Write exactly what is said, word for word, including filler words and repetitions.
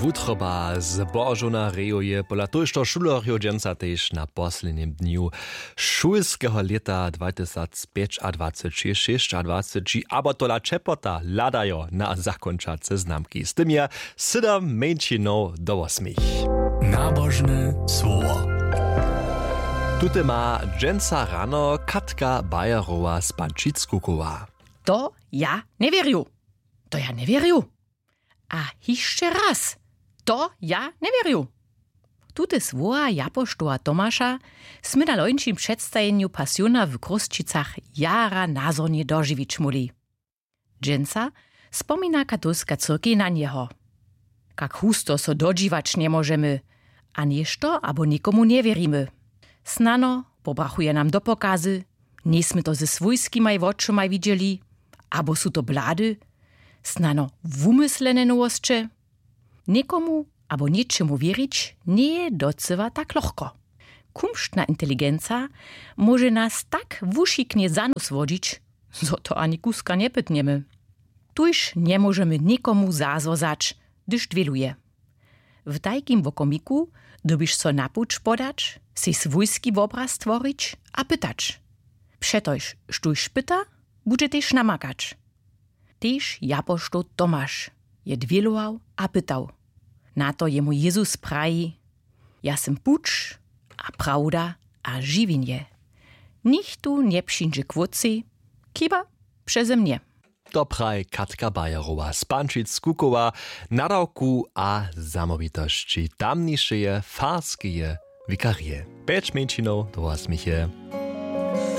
Wutroba z Božona reju je pola tójšto šulerjow dźensa tež na poslednim dnju šulskeho lěta dwatysacpjećadwaceći šěsćadwaceći abo tola ćepota hladajo na zakónčace znamki. Z tym je sydom mjeńšinow do wosmich. Nabožne słowo. Tute ma dźensa rano Katka Bayerowa z Pančic kukowa. To ja njewěrju. To ja njewěrju. A hišće raz. To ja njewěrju. Tute słowa japoštoła Tomaša smy na lońšim předstajenju Pasiona w Chrósćicach jara nazhonje dožiwić móhli. Dźensa spomina katolska cyrkej na njeho. Kak husto so dodźiwać njemóžemy, a něšto abo někomu njewěrimy. Snano pobrachuje nam do pokazy, njejsmy to ze swójskimaj wočomaj widźeli, abo su to blady, snano wumyslene nowosće. Někomu abo něčemu wěrić njeje docyła tak lochko. Kumštna inteligenca móže nas tak wušiknje za nós wodźić, zo to ani kuska njepytnjemy. Tuž njemóžemy někomu zazwozać, hdyž dwěluje. W tajkim wokomiku dyrbiš so na puć podać, sej swójski wobraz tworić a pytać. Přetož štóž pyta, budźe tež namakać. Tež japoštoł Tomaš je dwělował a pytał. Na to jemu Jezus praji: Ja sym puć a prawda a žiwjenje. Nichtó njepřińdźe k wótcej, chiba přeze mnje. To praji Katka Bayerowa z Pančic kukowa, nadawku a zamołwitosći tamnišeje farskeje wikarije. Pjeć mjeńšinow do wosmiche.